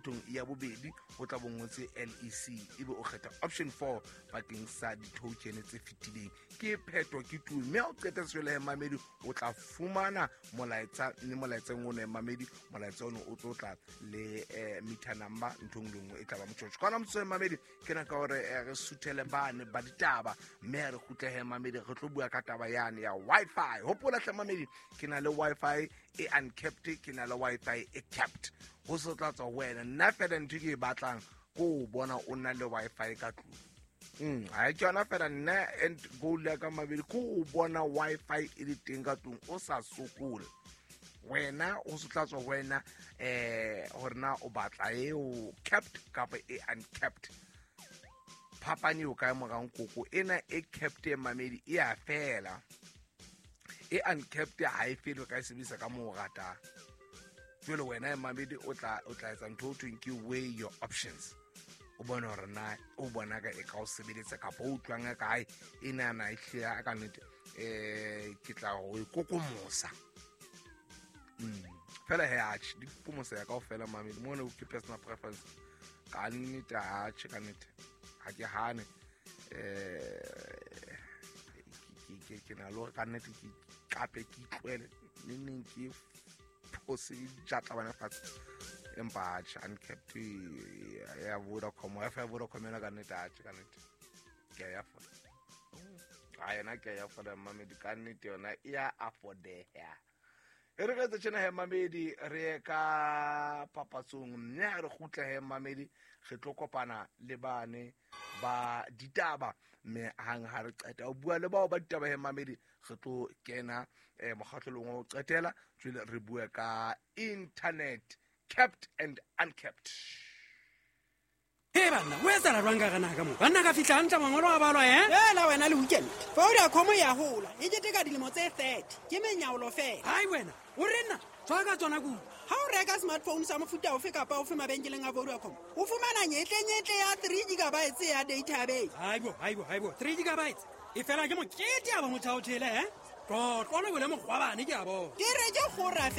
Thong ya bobedi o tla bo ngotse lec, ebe o kgetha option 4 bakeng sa di-token tse fetileng. Ke pheto, ke tu. Mme ha o qeta sejwale, mamedi, o tla fumana molaetsa, mme molaetseng ono, mamedi, molaetsa ono o tlo tla le meter number. Nthong le nngwe e tla ba motjotjo ka ona motsotso. Mamedi, ke naka gore re suthele bane ba ditaba, mme ha re kgutlehe, mamedi, re tlo bua ka taba yane ya Wi-Fi. Hopola hle, mamedi, ke na le Wi-Fi e uncapped, ke na le Wi-Fi e capped. Ho se tla tswa ho wena. Nna fela ntho ke e batlang ko o bona o na le Wi-Fi ka tlung. Ha ke yona fela nna end goal ya ka, mabedi, ko o bona Wi-Fi e le teng ka tlung, o sa sokole wena. O se tla tswa ho wena hore na o batla eo capped kapa e uncapped. Phapane eo kae morang koko ena e capped e, mamedi, e a fela. E uncapped ha e fele, o ka e sebedisa ka moo o ratang. Jwale wena, mamedi, o tla etsa ntho o thweng ke weigh your options, o bone hore na o bona ka e ka o sebeletsa kapa o utlwang ka kae e nana e hlile ka nnete. Ke tla go e kokomosa. Fela he, atjhe, di kokomosa ya kaofela, mamedi, mo ne ke personal preference ka nnete. Atjhe, ka nnete ha ke hane. Ke na le hore ka nnete ke kape ke itlwele neng ke phose jatla bana fatshe, empa atjhe, uncapped ya Vodacom, Wi-Fi ya Vodacom yona, ka nnete, atjhe, ka nnete ke a e afforda. Ha yona ke a e afforda, mamedi, ka nnete yona e ya affordeha. E re ka etsa tjena he, mamedi, re ye ka papatsong, mme ha re kgutla he, mamedi, re tlo kopana le bane ba ditaba, mme hang ha re qeta ho bua le bao ba ditaba he, mamedi, re tlo kena mokgahlelong wa ho qetela. Jwale re bue ka internet capped and uncapped. E banna, o etsala jwang ka gana ka mo banna ka fitlha hantle mangolo a balwa e? Fela wena le weekend, Vodacom ya hola e keteka dilemo tse 30. Ke menyaolo fela. Hai wena, o re nna tswa ka tsona kudu. Ha o reka smartphone sa mofuta ofe kapa ofe mabenkeleng a Vodacom, o fumana nyetlenyetle ya 3 gigabytes ya data ya beke. Haibo, haibo, haibo, 3 gigabytes e fela ke mokete a ba motšhaotšhele e tlotlo le bole mogwabane ke a bona. Ke re ke gora.